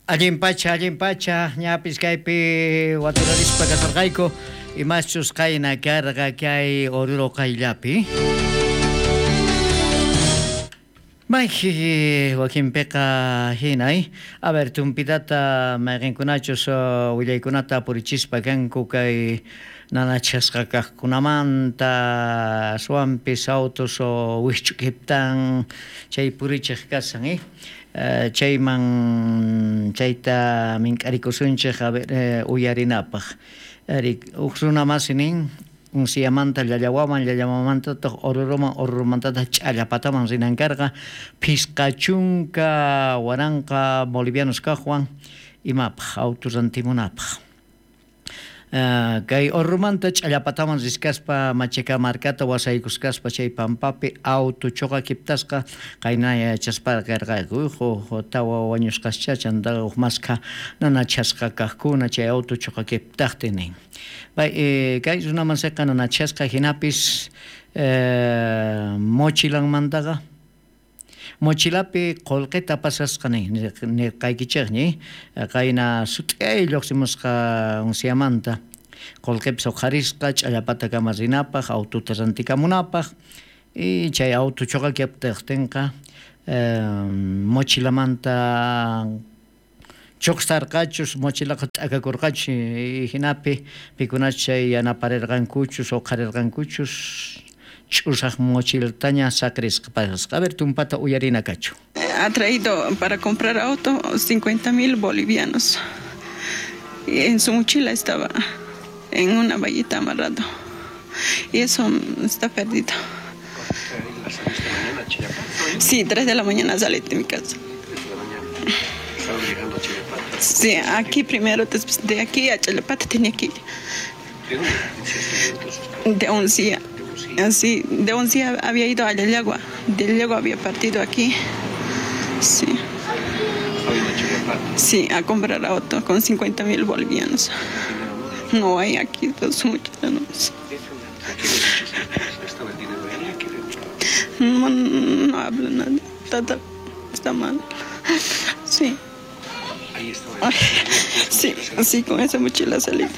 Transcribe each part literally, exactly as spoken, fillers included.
Allin pacha, allin pacha, ñapis kaypi waturarispa kasarqayku, imaschus qayna karqa kay Oruro qayllapi. Mayji wakinpiqa hinay, a ver, tumpitata mayqinkunachus willaykunata purichispa kanku kay nanachasqa kaqkunamanta, aswanpis autos wikch'ukiptan chay purichiq kasan, eh? Chayman chayta mink'arikusunchik a ver uyarinapaq. Ari huk runa masi nin Unciyamanta Llallawaman, Llallawamantataq Oruruman, Orurumantataq Ch'allapataman rinan karqa, phisqa chunka waranqa bolivianos kaqwan imapaq auto rantimunapaq. Kay Orurumanta Ch'allapataman riskaspa Machacamarcata wasaykuskaspa chay pampapi auto chuqakiptasqa qayna yachaspa karqayku huk tawa wañusqascha chantaqa huk maskha nanachasqa kaqkuna chay auto chuqakiptaqtin nin. Pay kay runamansiqa nanachasqa hinapis mochilanmantaqa mochilapi qullqita pasasqa nin nirqaykichikñi qayna sut'ay lluqsimusqa Unciyamanta qullqipis uqharisqa Ch'allapatakama rinapaq autota rantikamunapaq y chay auto chuqakiptaqtinqa mochilamanta chuqsarqachus mochilaqa t'akakurqachus hinapi pikunachus chay yanaparirqankuchus uqharirqankuchus ch'usaq mochilataña saqrisqa pasasqa. A ver, tumpata uyarina kachu. Ha traído para comprar auto cincuenta mil bolivianos. Y en su mochila estaba en una vallita amarrado. Y eso está perdido. Sí, tres de la mañana salí de mi casa. Sí, aquí primero, después de aquí a Challapata tenía que ir. De Uncía. Así, de Uncía había ido a Llallagua, de Llallagua había partido aquí. Sí. Sí, a comprar auto con cincuenta mil bolivianos. No hay aquí, dos muchos. No, no habla nada, está, está mal. Sí. Ay, sí, sí, con esa mochila salida.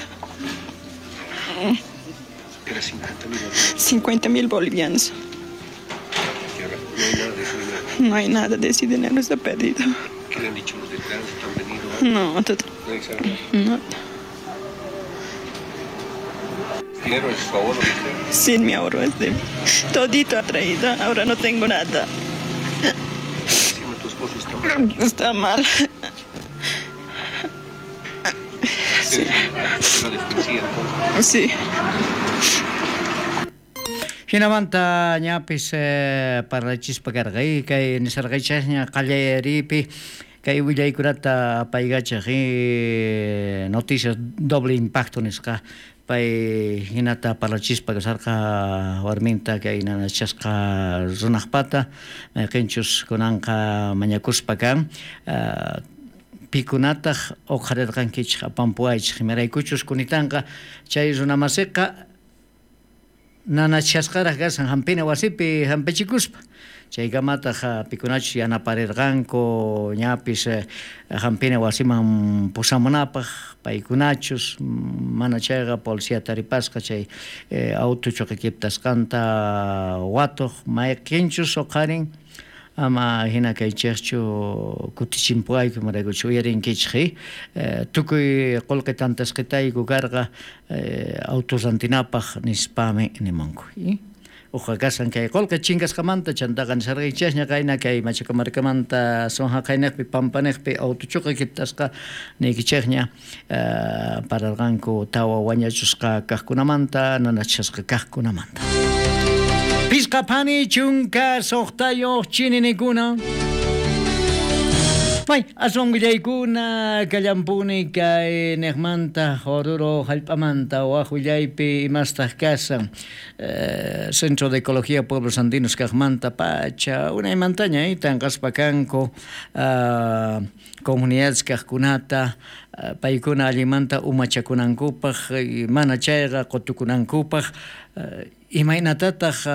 Era cincuenta mil bolivianos. No hay nada de ese dinero, está perdido. ¿Qué le han dicho los de tránsito? ¿Han venido? No, todo. No. ¿Dinero es su ahorro? Sí, mi ahorro es de... Todito ha traído, ahora no tengo nada. Sí, tu esposo está mal. Está mal. Sí. Sí. Hinamanta ñapis parlachispa karqa kay nisarqaychasña qallayaripi kay willaykunata apaykachaq noticias doble impacto nisqa pay hinata parlachispa kasarqa warminta kay nanachasqa runaqpata mayqinchus kunanqa mañakuspa kan pikunataq uqharirqankichik apanpuwaychik imaraykuchus kunitanqa chay runamasiqa nanachasqaraq kasan hampina wasipi hampichikuspa chaykamataq pikunachus yanaparirqanku ñapis hampina wasiman pusamunapaq paykunachus mana chayqa policía taripasqa chay auto chuqakiptasqanta watuq mayqinchus uqharin ama hina kaychikchu kutichimpuwayku imaraykuchus uyarinkichik tukuy qullqi tantasqitayku karqa auto rantinapaq nispami nimunku. Uqa kasan kay qullqi chinkasqamanta chantaqa nisarqaychasña qayna kay Machacamarcamanta Sonjaqaynaqpi Pampaniqpi auto chuqakiptasqa niykichikña pararqanku tawa wañachusqa kaqkunamanta nanachasqa kaqkunamanta. Pisqa phani chunka suqtayuq chininikuna. May aswan willaykuna kallampuni kay niqmanta Oruro hallp'amanta waq willaypi imastaq kasan Centro de Ecología Pueblos Andinos kaqmanta pacha unaymantaña tanqaspa kanku comunidades kaqkunata paykuna allimanta umachakunankupaq mana chayqa qutukunankupaq imaynatataq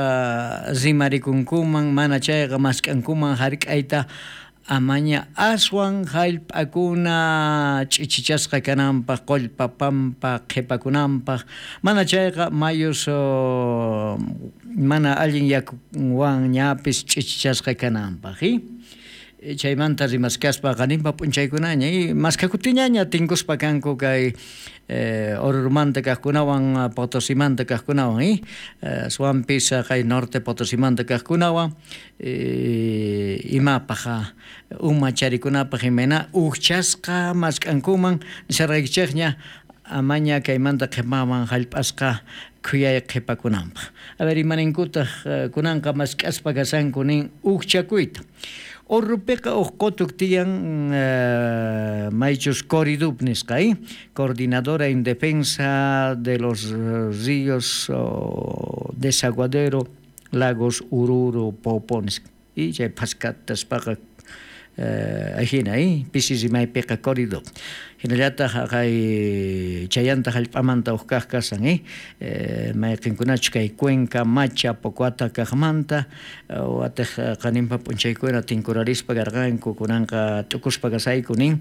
rimarikunkuman mana chayqa mask'ankuman hark'ayta Amaña aswan jallp'akuna ch'ichichasqa kananpaq qullpa pampa qhipakunanpaq mana chayqa mayus mana allin yakuwan ñapis ch'ichichasqa kananpaq chaymanta rimaskaspa qaninpa p'unchaykunaña y maskakutiñaña tinkuspa kanku kay eh, Orurumanta kaqkunawan Potosimanta kaqkunawan y aswanpis kay norte Potosimanta kaqkunawan eh, imapaq uma charikunapaq imayna ujchasqa mask'ankuman nisarqaykichikña amaña kaymanta qhipaman jallp'asqa khuyay qhipakunanpaq. A ver imaninkutaq kunanqa mask'aspa kasanku nin ujchakuyta. Orrupiqa uj qotuq tiyan uh, maychus Coridup nisqa, ¿eh? Coordinadora en Defensa de los Ríos oh, Desaguadero, Lagos Oruro, Poopó nisqa. Y chay phaskataspaqa uh, ajina, ¿eh? Pisi rimaypiqa Coridup. Hinallataq kay chayanta jallp'amanta uj kaq kasan, eh? Eh, mayqinkunachus kay Cuenca, Macha, Pocoata kaqmanta watej qaninpa p'unchaykuna tinkurarispa karqanku kunanqa t'ukuspa kasayku nin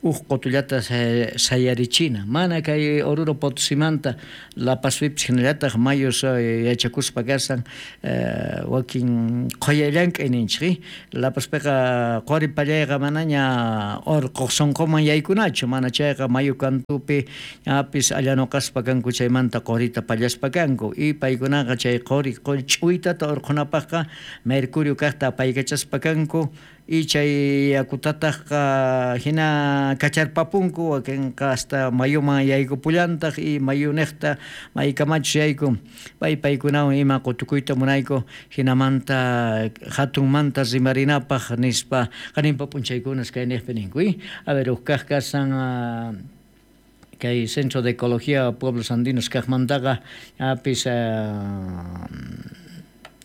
uj qutullata sayarichina mana kay Oruro Potosimanta La Pazpipis hinallataq mayus yachakuspa kasan eh, wakin qhuya llank'ay ninchik La Pazpiqa quri pallayqa manaña urquq sunquman yaykunachu mana chayqa mayu kantupi ñapis allanuqaspa kanku chaymanta qurita pallaspa kanku y paykunaqa chay quri quri ch'uytata urqunapaqqa mercurio kaqta apaykachaspa kanku y chay yakutataqqa hina kacharpapunku wakinqa hasta mayuman yaykupullantaq y mayuniqta maykamachus yayku pay paykunawan ima qutukuyta munayku hinamanta hatunmanta rimarinapaq nispa qaninpa p'unchaykunas kayniqpi ninku y a ver uj kaq kasan kay Centro de Ecología Pueblos Andinos kaqmantaqa apis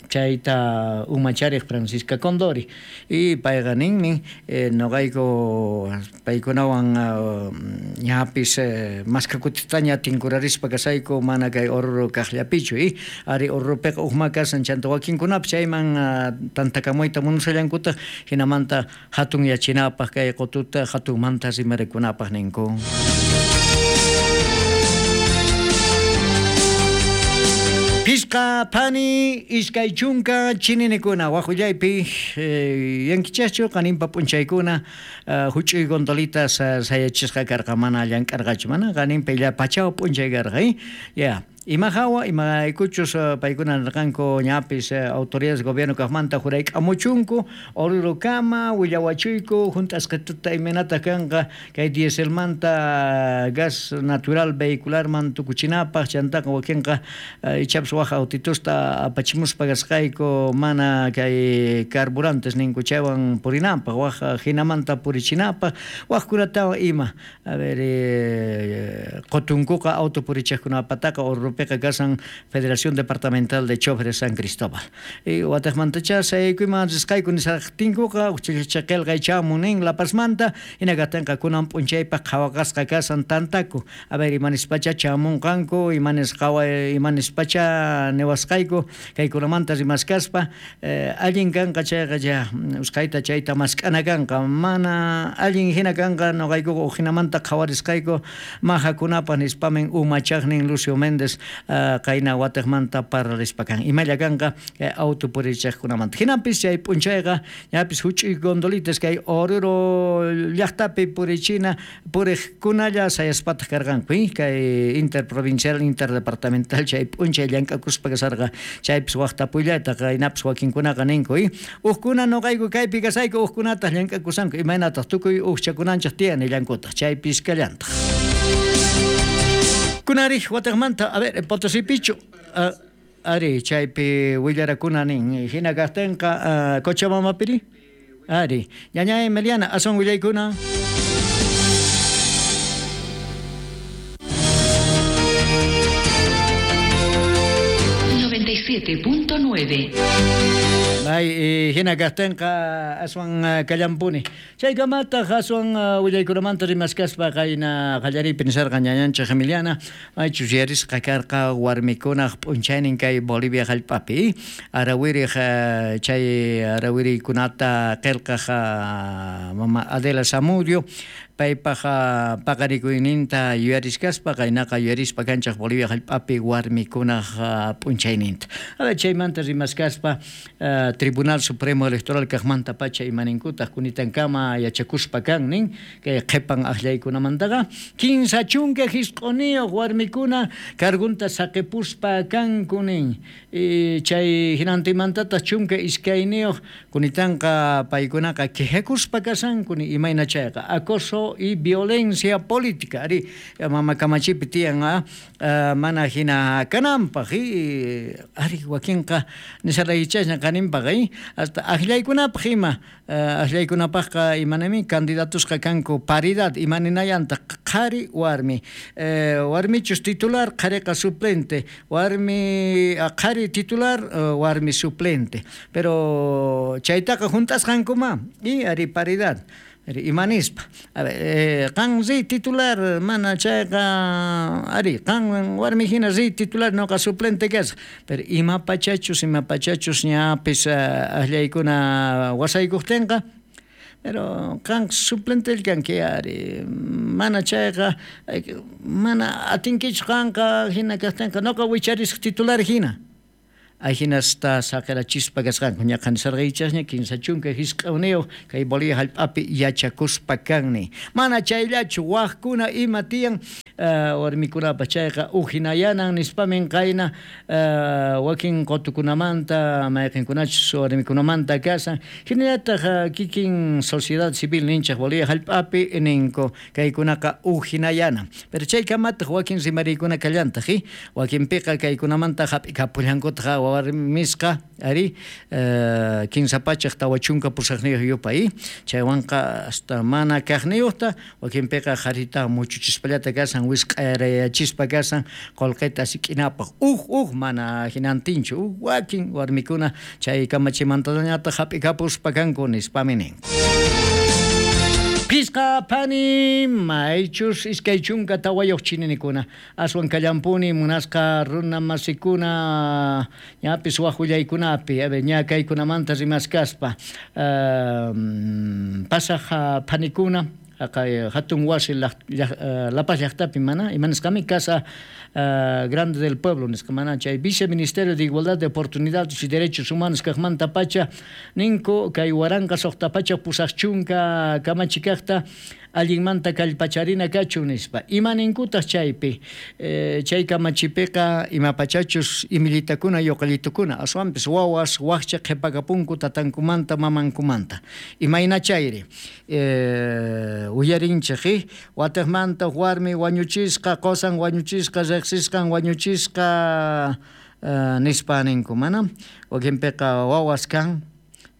chayta umachariq Francisca Condori y payqa ninmi eh, noqayku paykunawan uh, ñapis eh, maskakutitaña tinkurarispa kasayku mana kay Oruro kaqllapichu y ari Orurupiqa uqma kasan chanta wakinkunapis chayman uh, tantakamuyta munasallankutaq hinamanta hatun yachinapaq kay qututa hatunmanta rimarikunapaq ninku. Pisqa phani iskay chunka chininikuna waqullaypi eh, yankichaschu qaninpa p'unchaykuna uh, huch'uy gondolitas uh, sayachisqa karqa mana llank'arqachu mana qaninpa illa pachaw p'unchay karqa eh? Ya. Ima hawa imaraykuchus uh, paykuna nirqanku ñapis uh, autoridades gobierno kaqmanta jurayk'amuchunku Orurukama willawachuyku junt'asqituta imaynataq kanqa kay dieselmanta gas natural vehicularman tukuchinapaq chantaqa wakinqa uh, ichapis waj autitusta apachimuspa kasqayku mana kay carburantes ninku chaywan purinapaq waj hinamanta purichinapaq wajkunatawan ima a ver eh, qutunkuqa auto purichiqkunapataqa Orurupi kasan Federación Departamental de Choferes San Cristóbal. Y wataqmantacha sayaykuyman risqayku nisaqtinkuqa uqchaqilqa chamun nin La Pazmanta hinakatinqa kunan p'unchaypaq qhawaqasqa kasan tantaku. A ver imanispacha chamunqanku imanis qawa imanispacha niwasqayku kaykunamanta rimaskaspa eh, allin kanqa chayqa ya usqhayta chayta mask'ana kanqa mana allin hina kanqa noqaykuqa uqhinamanta qhawarisqayku majakunapaq nispamin umachaqnin Lucio Méndez Uh, qayna wataqmanta parlarispa kan imalla kanqa eh, auto purichiqkunamanta hinapis chay p'unchayqa ñapis huch'uy gondolitas kay Oruro llaqtapi purichina puriqkunalla sayaspataq karqanku eh? Kay interprovincial interdepartamental chay p'unchay llank'akuspa kasarqa chaypis waqtapullataq qaynapis wakinkunaqa ninku eh? Uqkuna noqayku kaypi kasayku uqkunataq llank'akusanku imaynataq tukuy uqchakunanchik tiyan nillankutaq chaypis kallantaq. Kunari wataqmanta a ver Potosipichu uh, ari chaypi willarakuna nin hina kaqtinqa uh, Cochabambapiri ari ñaña Emiliana asun willaykuna. noventa y siete punto nueve. Ay, hina kajtenqa aswan kallampuni. Chaykamataq aswan willaykunamanta rimaskaspa qayna qallariypi nisarqa ñañanchik Emiliana, maychus yarisqa karqa warmikunaq p'unchaynin kay Bolivia hallp'api. Arawiriq chay arawiriykunata qillqaq mama Adela Zamudio paypaq paqarikuyninta yuyariskaspa qaynaqa yuyarispa kanchaq Bolivia hallp'api warmikunaq p'unchayninta. Ahora chaymanta rimaskaspa Tribunal Supremo Electoral kaqmanta pacha imaninkutaq kunitankama yachakuspa kan nin kay qhipan aqllaykunamantaqa kinsa chunka hisq'uniyuq warmikuna cargunta saqipuspa kanku nin. Chay hinantimantataq chunka iskayniyuq kunitanqa paykunaqa quejakuspa kasanku ni imayna chayqa acoso y violencia política ari mama kamachipi tiyan mana hina kananpaq ari wakinqa nisaraychasña qaninpaq hasta aqllaykunapaq ima aqllaykunapaqqa imanami candidatusqa kanku paridad imaninayantaq qhari warmi warmichus titular qhariqa suplente warmi qhari titular warmi suplente pero chaytaqa juntasqankuma y ari paridad imanispa a ver qan riy titular mana chayqa ari qan warmi hina riy titular noqa suplente kasaq pero ima pachachus ima pachachus ñapis aqllaykuna wasaykuqtinqa pero qan suplente kanki ari mana chayqa mana atinkichu qanqa hina kaqtinqa noqa wicharisaq titular hina ajinasta saqirachispa kasqanku ñaqa nisarqaychasña kinsa chunka hisq'awniyuq kay Bolivia hallp'api yachakuspa kanni mana chayllachu waqkuna ima tiyan warmikunapa chayqa ujinayanan nispamin qayna wakin qutukunamanta mayqinkunachus warmikunamanta kasan hinallataq kikin sociedad civil ninchaq Bolivia hallp'api ninku kaykunaqa ujinayanan pero chaykamataq wakin rimariykuna kallantaq wakinpiqa kaykunamanta hap'ikapullankutaq warmisqa ari kinsa pachaq tawa chunka pusaqniyuq yupay chaywanqa hasta mana kaqniyuqta wakinpiqa qharita muchuchispallata kasan wisq'arayachispa kasan qullqita sik'inapaq uj uj mana hinantinchu uj wakin warmikuna chay kamachimantañataq hap'ikapuspa kanku nispami ninku. Pisqa phani maychus iskay chunka tawayuq chininikuna aswan kallampuni munasqa runa masikuna ñapis waq willaykunapi a ver ña kaykunamanta rimaskaspa pasaq phanikuna hatun wasi La Paz llaqtapi mana imanisqami Casa Grande del Pueblo nisqa mana chay Viceministerio de Igualdad de Oportunidades y Derechos Humanos kaqmanta pacha ninku kay waranqa suqta pacha pusaq chunka kamachikaqta allinmanta kallpacharina kachun nispa imaninkutaq chaypi chay kamachipiqa imapachachus imillitakuna yuqallitukuna aswanpis wawas waqcha qhipakapunku tatankumanta mamankumanta imayna chayri uyarinchik wataqmanta warmi wañuchisqa qusan wañuchisqa riqsisqan wañuchisqa nispa ninku mana wakinpiqa wawas kan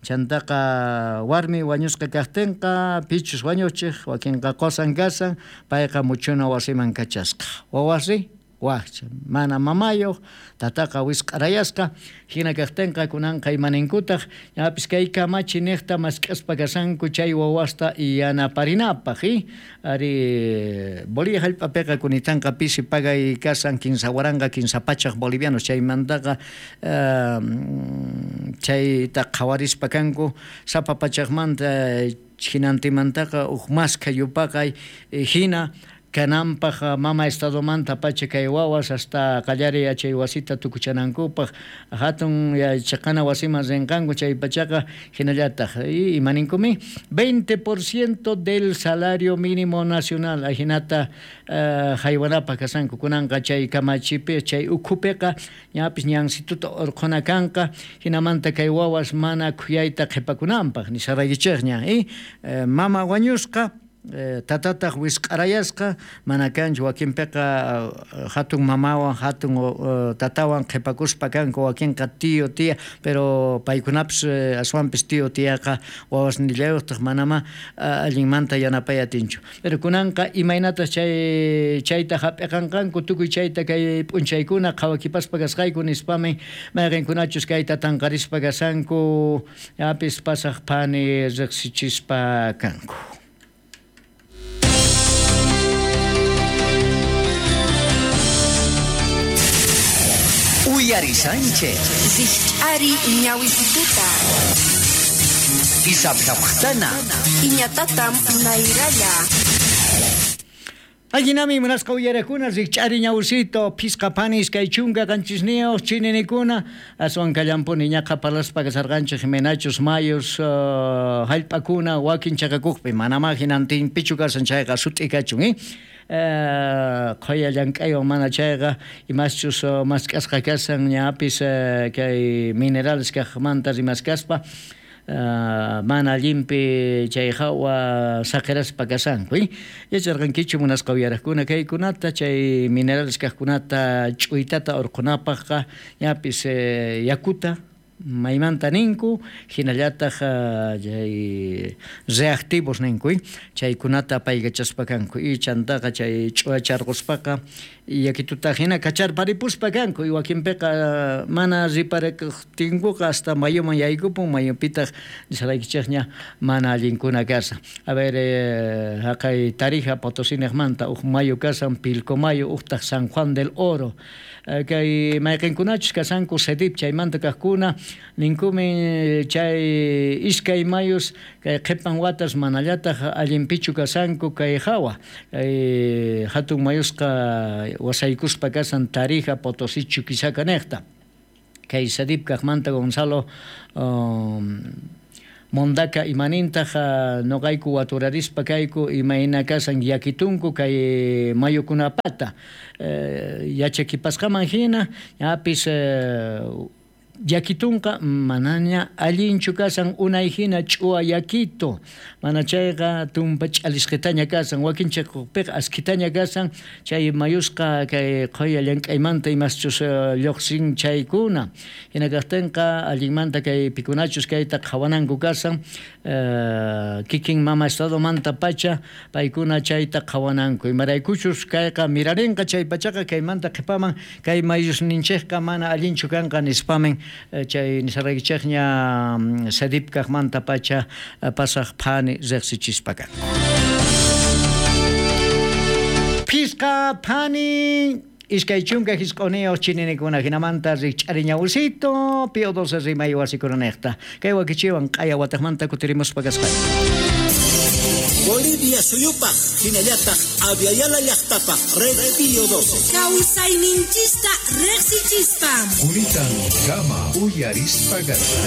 chantaqa warmi wañusqa kaqtinqa pichus wañuchiq wakinqa qusan kasan payqa muchuna wasiman kachasqa wawasri waqcha mana mamayuq tataqa wisq'arayasqa hina kaqtinqa kunanqa imaninkutaq ñapis kay kamachi niqta mask'aspa kasanku chay wawasta yanaparinapaq ari Bolivia hallp'apiqa kunitanqa pisi pagay kasan kinsa waranqa kinsa pachaq bolivianos chaymantaqa chayta qhawarispa kanku sapa pachaqmanta hinantimantaqa uj maskha yupaqay hina kananpaq mama estadomanta pacha kay wawas hasta qallariy yachay wasita tukuchanankupaq hatun yachaqana wasiman rinqanku chay pachaqa hinallataq imaninkumi veinte por ciento del salario mínimo nacional ajinata haywanapaq kasanku kunanqa chay kamachipi chay ukhupiqa ñapis ñansituta urqhuna kanqa hinamanta kay wawas mana khuyayta qhipakunanpaq nisaraykichikña mama wañusqa Tatataq wisq'arayasqa mana kanchu wakinpiqa hatun mamawan hatun tatawan qhipakuspa kanku wakinqa tío tía pero paykunapis aswanpis tío tiaqa wawasnillayuqtaq manama allinmanta yanapay atinchu pero kunanqa imaynatas chay chayta hap'iqanqanku tukuy chayta kay p'unchaykuna qhawakipaspa kasqayku nispami mayqinkunachus kayta tanqarispa kasanku yapis pasaq phani riqsichispa kanku. Uyari Sánchez. Rikch'ari ñawisituta. Isaptaptana. Iñatatam nayralla. Allinami munasqa uyarakuna rikch'ari ñawsito phisqa panis kay chunka qanchisniyuq chininikuna aswan kallampuni ñaqa parlaspa kasarqanchik Jimenachus mayus uh, hallp'akuna wakin chaqakuqpi manama hinantinpichu kasan chayqa sut'i kachun eh? Qhoya llank'aywan mana chayqa imaschus mask'asqa kasan ñapis kay minerales kaqmanta rimaskaspa mana allinpi chay hawa saqiraspa kasanku yacharqankichu munasqa uyaraqkuna kaykunata chay minerales kaqkunata ch'uytata urqunapaqqa ñapis yakuta maymanta ninku hinallataq chay reactivos ninku chaykunata apaykachaspa kanku y chantaqa chay ch'uwacharquspaqa yakituta hina kacharparipuspa kanku y wakinpiqa mana riparaqtinkuqa hasta mayuman yaykupun mayupitaq nisaraykichikña mana allinkuna kasan. A ver eh, haqay Tarija Potosí-niqmanta uj mayu kasan Pilcomayo uqtaq San Juan del Oro kay mayqinkunachus kasanku Cedip chaymanta kaqkuna ninkumi chay iskay mayus kay qhipan watas manallataq allinpichu kasanku kay hawa kay hatun mayusqa wasaykuspa kasan Tarija Potosí Chuquisaca niqta kay Cedip kaqmanta Gonzalo um, Mondaka imanintaq noqayku waturarispa kayku imayna kasan yakitunku kay mayukunapata yachakipasqaman hina ñapis yakitunqa manaña allinchu kasan unay hina ch'uwa yakitu mana chayqa tumpa ch'alisqitaña kasan wakin chaypiqa askhitaña kasan chay mayusqa kay qhoya llank'aymanta imaschus lluqsin chaykuna hina kaqtinqa allinmanta kay pikunachus kayta qhawananku kasan kikin mama estadomanta pacha paykuna chayta qhawananku imaraykuchus kayqa mirarinqa chay pachaqa kaymanta qhipaman kay mayusninchikqa mana allinchu kanqa nispamin chay nisaraykichikña Cedip kaqmanta pacha pasaq phani riqsichispa kanku. Phisqa phani iskay chunka hisq'uniyuq chininikuna hinamanta rikch'ari ñawsito Pío doce rimay wasikunaniqta kay wakichiwan q'aya wataqmanta kutirimuspa kasqayku. Bolivia suyupaq hinallataq Aviala llaqtapaq Red Pío doce. Kawsayninchista riqsichispa. Kunitan kama uyarispa kasqanchik.